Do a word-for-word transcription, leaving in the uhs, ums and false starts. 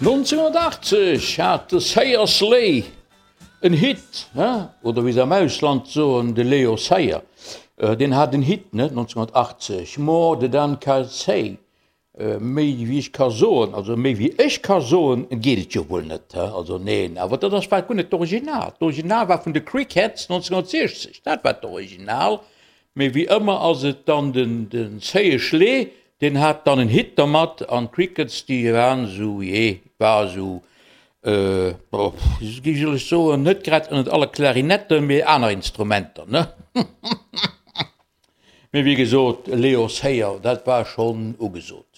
Nonzénhunnertachtzeg hat de Sayer Slay en Hit, ne? Oder wéi se am Ausland soen, de Leo Sayer, deen hat en Hit, ne? Nonzénhunnertachtzeg, More Than I Can Say, méi wéi ech ka soen, also méi wéi ech ka soen, geet et jo wuel net, he? Also neen, awer dat ass war guer net d'Original. D'Original war vun de Crickets nonzénhunnertsiechzeg, dat war d'Original. Mee wéi ëmmer ass et dann den den Zéie Schlee, deen hat dann en Hit dermat an d'Crickets déi waren esou, jee, war esou, boah, wéi soll ech soen, net grad ënnert alle Klarinetten, mee aner Instrumenter, ne? Mee wéi gesot, Leo Sayer, dat war schonn ugesot.